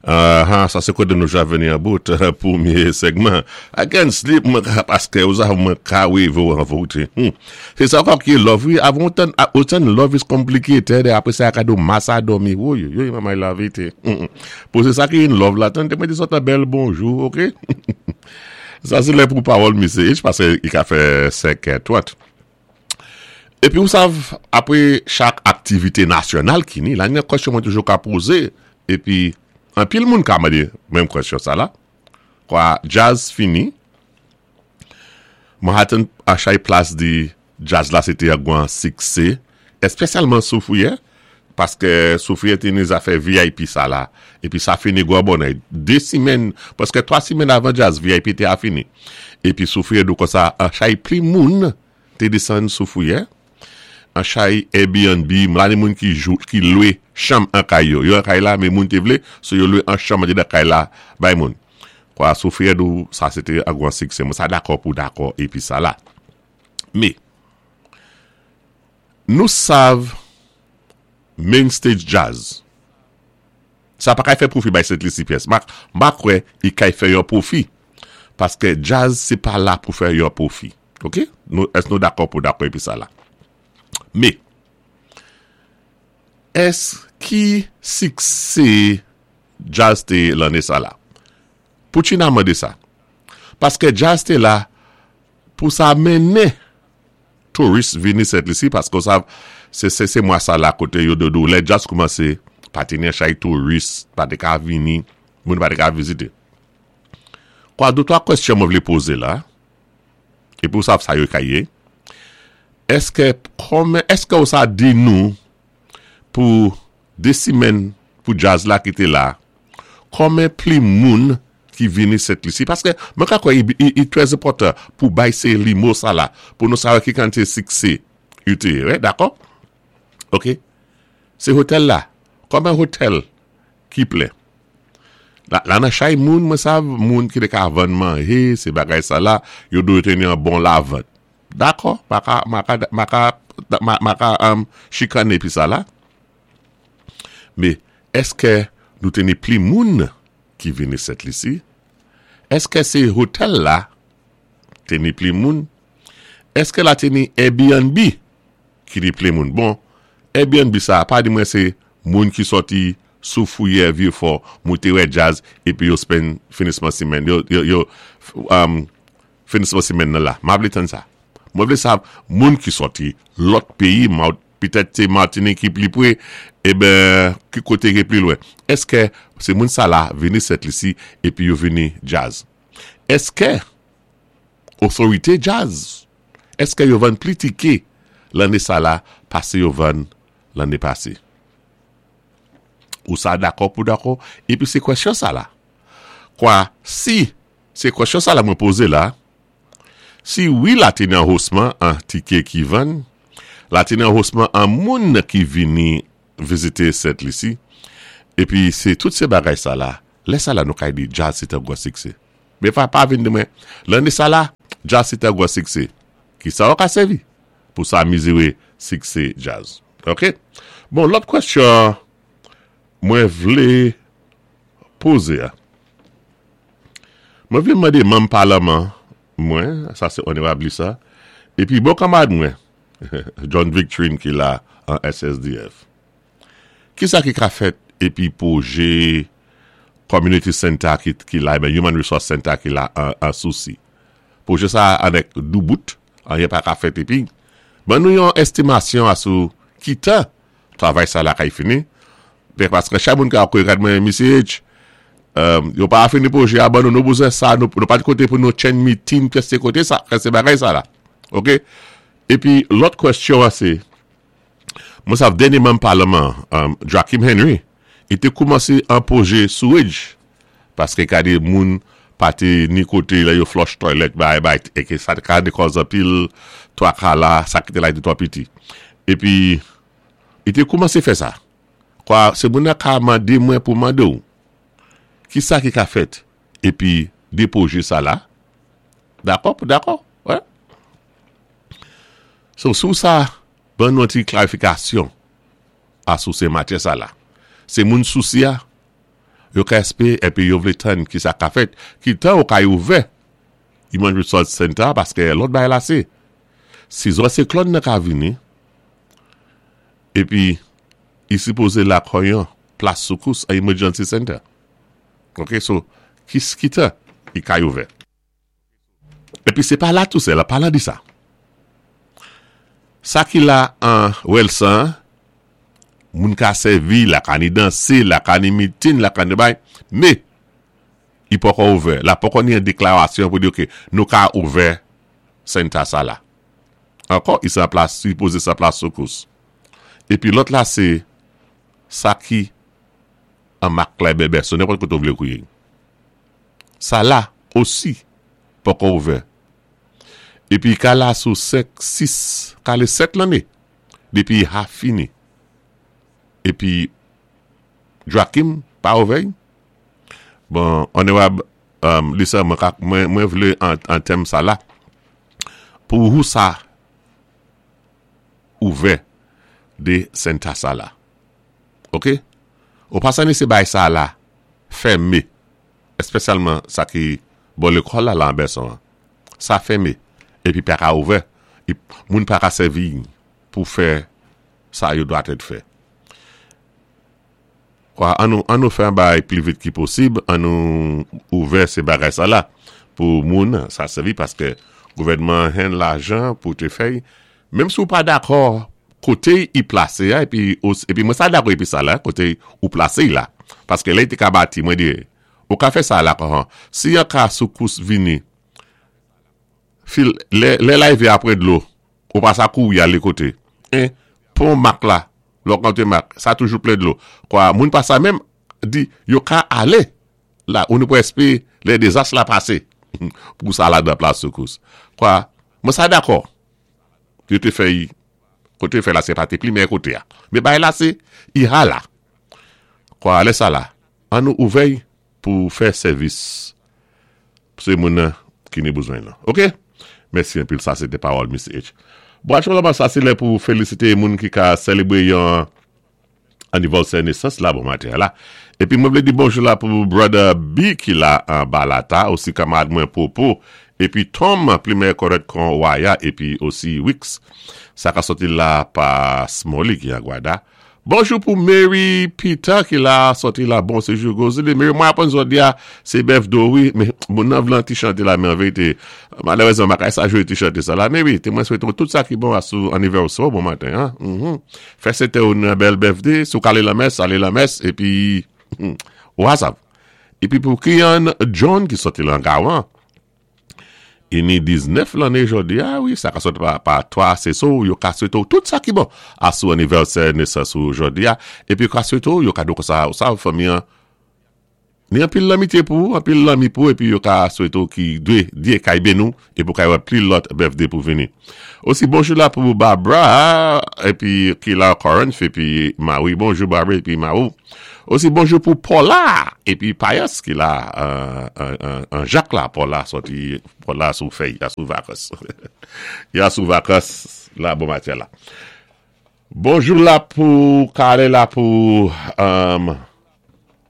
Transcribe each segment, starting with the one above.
Aha, sa sé koté nou ja vini an bout pwémyé segman. I can sleep mwen ka paské ou sa mwen ka wévé ou an voté. Sé sa ankò ki love wi, avan ou tann ou tann love is complicated é apwé sa ka di ou masa dòmi. Woyoyoy manmay lavité. Pou sé sa ki in love la tann té mwen di sòt an bèl bonjou ok. Sa sé lè pou pawòl misye H paské i ka fè 5 è 30. Epi ou sav, apre chak aktivite nasyonal ki ni, la ni yon kwèsyon mwen toujou ka poze, epi anpil moun ka mande menm kwèsyon sa la, kwa djaz fini, Manhattan a chay plas di djaz la se te yon gwan sikse, espesyalman Soufrière, paske Soufrière te ni zafè vip sa la, epi sa fini gwan bonè, 2 simèn, prèske 3 simèn avan djaz vip te a fini, epi Soufrière di w konsa, an chay pli moun te desann sou fouyè an chay Airbnb m la ni moun ki jou ki lwe chanm an kay yo yo an kay la men moun te vle so yo lwe an chanm andedan kay la bay moun kwa sou fouyè dou sa se te an gwan siksè mwen sa dakò pou dakò epi sa la me nou sav main stage jazz sa pa kay fè pwofi bay Sent Lisi pyès m pa kwè i kay fè yon pwofi paske jazz se pa la pou fè yon pwofi. Ok, nou, èske nou dakò pou dakò epi sa la? Me, ès ki sikse djaz te ye lanne sa la? Pou China mande sa. Paske djaz te la pou sa mennen touris vini Sent Lisi, paske ou sav, se se se mwa sa la kote yo dodou, lè djaz koumanse, pa te ni chay touris, pa te ka vini, moun pa te ka vizite. Kwa de twa kwèsyon mwen vle poze la. Epi ou sav sa yo ka ye. Eske kòmen eske ou sa di nou pou 2 simèn pou djaz la ki te la kòmen pli moun ki vini Sent Lisi paske mwen ka kwè i trè enpòtan pou bay se limo sa la pou nou sa wè ki kantite sikse yo te ye dakò ok se hotèl la kòmen hotèl ki plen. La nan chay moun mwen sav moun ki te ka vann manje se bagay sa la yo dwe teni an bon lavant. Dakò ma ka ma ka ma ka ma ka chikane pi sa la. Me eske nou teni pli moun ki vini Sent Lisi? Eske se hotèl la teni pli moun? Eske la teni Airbnb ki li plen moun bon Airbnb sa pa di mwen se moun ki sòti sou fouyè vye fò moute wè djaz epi yo spend finisman simèn yo yo finisman simèn nan la ma vle tann sa mwen vle sa moun ki sòti lòt peyi petèt se Martinique ki pli pre eben ki kote ki pli lwen eske se moun sa la vini Sent Lisi epi yo vini djaz eske otorite djaz Eske yo vann pli tike lanne sa la pase yo vann lanne pase? Ou sa dakò pou dakò? Epi se kwèsyon sa la. Kwa si se kwèsyon sa la mwen poze la, si wi la te nan hosman an tike ki vann, la te nan hosman an moun ki vini vizite Sent Lisi, epi se tout se bagay sa la, lè sa la nou kay di djaz se te gwo sikse. Men pa pa vin di mwen, lanne sa la, djaz se te gwo sikse. Ki sa ou ka sèvi pou sa mizire sikse djaz? Ok. Bon, lòt kwèsyon mwen vle poze a. Mwen vle mande manm palman mwen, sa se Onorab Lisa, epi bon kanmarad mwen, John Victrine ki la an SSDF. Kisa ki ka fèt epi pwoje Community Center ki la, eben Human Resource Center ki la an Sousi? Pwoje sa a anèk doubout, anyen pa ka fèt epi ban nou yon estimasyon asou ki tan travay sa la kay fini, paske chak moun ka ap gad mwen Misye H, yo pa fini pwoje a ban nou, nou bezwen sa, nou pa kote pou nou tchenn meeting, kèse kote sa, kèse bagay sa la. Ok? Epi lòt kwèsyon an se, Mwen sav dènye manm palman an, Joachim Henry, li te koumanse an pwoje sewage, paske gade moun pa te ni kote lè yo flush toilet bay bay e ke sa te ka de kòz anpil twaka la, sa ki te la te twò piti. Epi, li te koumanse fè sa. Kwa, se moun nan ka mande mwen pou mande w, ki sa ki ka fèt epi de pwoje sa la? Dakò pou dakò, wè. So, sou sa, ban nou yon ti klarifikasyon a sou se matyè sa la. Se moun Sousi a? Yo ka èspé épi yo vlé tann ki sa ka fèt, ki tan yo kay ouvè Human Resource Center a paskè lòt bagay la sé si zò siklòn nan ka vini épi i sipoze la kò yon plas soukous, an emergency center. Ok so ki ki tan i kay ouvè. Epi se pa la tou sèl, an palan de sa, sa ki la an Wèlsan an, moun ka sèvi, la ka ni danse, la ka ni mitin, la ka ni bay, me, i poko ouvè, la poko ni yon deklarasyon pou di ok, nou ka ouvè senta sa la. Ankò, i san plas, sipoze san plas soukous. Epi lòt la se sa ki an mak klè bèbè, sou nenpòt kote ou vle kouye. Sa la osi poko ouvè. Epi ka la sou 5, 6, kale 7 lanne depi ha fini. Epi Joakim pa ouvè y? Bon, Onorab Lisa mwen ka mwen vle an tèm sa la pou wou sa ouvè de senta sa la. Ok? Ou pa sanese bay sa la fème, espesyalman sa ki bò lekòl la lan Bèson an. Sa fème epi pa ka ouvè, moun pa ka sèvi pou fè sa yo dwatèt fè. Kwa an nou an nou fè an bagay pli vit ki posib, an nou ouvè se bagay sa la pou moun sa sèvi paske gouvènman an hen lajan pou te fè y. Menm si ou pa dakò kote y plase a epi epi mwen sa dakò epi sa la kote ou plase y la paske lè y te ka bati mwen di ou ka fè sa la kòman si yon ka soukous vini fil lè lè larive apre dlo ou pa sa kouri ale kote 1 pon mak la lè w konte mak sa toujou plen dlo kwa moun pa sa menm di yo ka ale la ou nou prèske lè dezas la pase pou sa la dan plas soukous kwa mwen sa dakò. Yo te fè y kote yo fè la se pa te pli meyè kote a. Men bagay la se y ha la. Kwa lè sa la, an nou ouvè y pou fè sèvis se moun nan ki ni bezwen lan. Ok? Mèsi anpil sa se te pawòl Misye H. Bon aktyèlman sa se lè pou felisite moun ki ka selebre yon anivèsè nesans la bon maten an la. Epi mwen vle di bonjou la pou brother B ki la anba la ta, osi kamarad mwen Popo, epi Tom plimen kòrèt kon waya epi osi Wix sa ka sòti la pa Smolly ki an Gwada. Bonjou pou Mary Peter ki la sòti la bon sejou Gozili. Mary mwen aprann zòdi a se bèf do wi men moun nan vle an ti chante la men anverite malerezman m pa ka sa jwe ti chante sa la Mary te mwen swete w tout sa ki bon asou anivèsè w bon maten an. Fè sete ou nan bèl bèfde, si w ka ale lanmès, ale lanmès, epi ou a sav. Epi pou Kian John ki sòti lan Gawan, i ni 19 lanne jodi a, wi, sa ka sòti pa 3 aseso w, yo ka swete w tout sa ki bon asou anivèsè nesans ou jodi a, epi yo ka swete w yon kado konsa, ou sav fanmi an. Ni anpil lanmitye pou ou, anpil lanmi pou ou epi yo ka swete w ki dwe Dye kay beni w epi w kay wè pli lòt birthday pou vini. Osi bonjou la pou Barbara epi ki la Corinth epi Marie bonjou Barbara epi Marou. Osi bonjou pou Paula epi Payas ki la an Jak la Paula sòti Paula sou fèy ya sou vakans ya sou vakans la bon maten la. Bonjou la pou kale la pou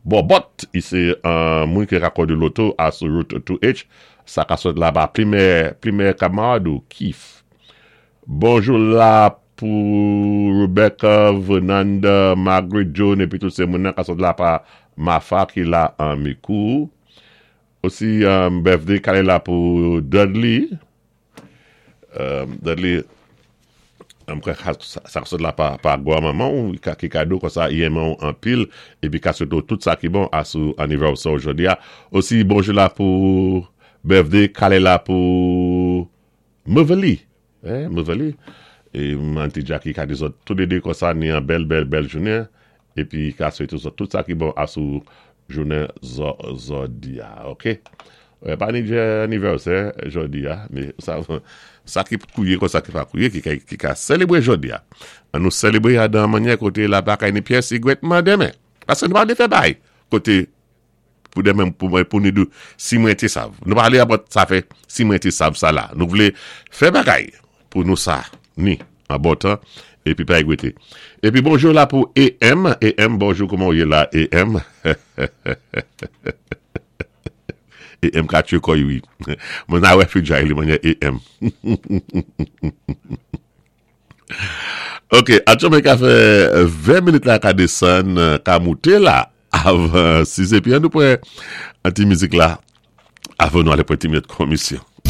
Bòbòt i se moun ki rakòde loto a sou route 2H sa ka sot la ba plimè plimè kamarad ou kif Bonjou la pou Rebecca Vernanda Margaret Joan epi tout se moun nan ka sot la pa Mafa ki la an Mikou osi birthday kale la pou Dudley Dudley, m kwè sa k sot la pa gwa manman w ki kado konsa i renmen w anpil epi ka swete w tout sa ki bon a sou anivèsè w jodi a. Osi bonjou la pou birthday kale la pou Motherly Motherly e Auntie Jackie ka di zòt toulede konsa ni an bèl bèl bèl jounen Epi ka swete zòt tout sa ki bon asou jounen zòdi a ok. Pa ni anivèsè jòdi a me sa ki kouye kon sa ki pa kouye ki ka selebre jòdi a. An nou selebre a dan manyè kote la pa kay ni pyès igwètman demen. Paske nou pa vle fè bay kote Pou demen pou mwen pou nou di si mwen te sav. Nou pa ale apot sa fè si mwen te sav sa la. Nou vle fè bagay pou nou sa ni an bon tan. Épi pa égwété. Épi bonjou la pou EM, EM bonjou kouman ou yé la EM? EM ka tiyé kò'y wi. Mwen a wè fidjay li manyè EM. Ok, atchòmè ka fè 20 minit la ka desann, ka moute la avan 6 épi an nou pran an ti mizik la avan nou ale pran ti minit komisyon.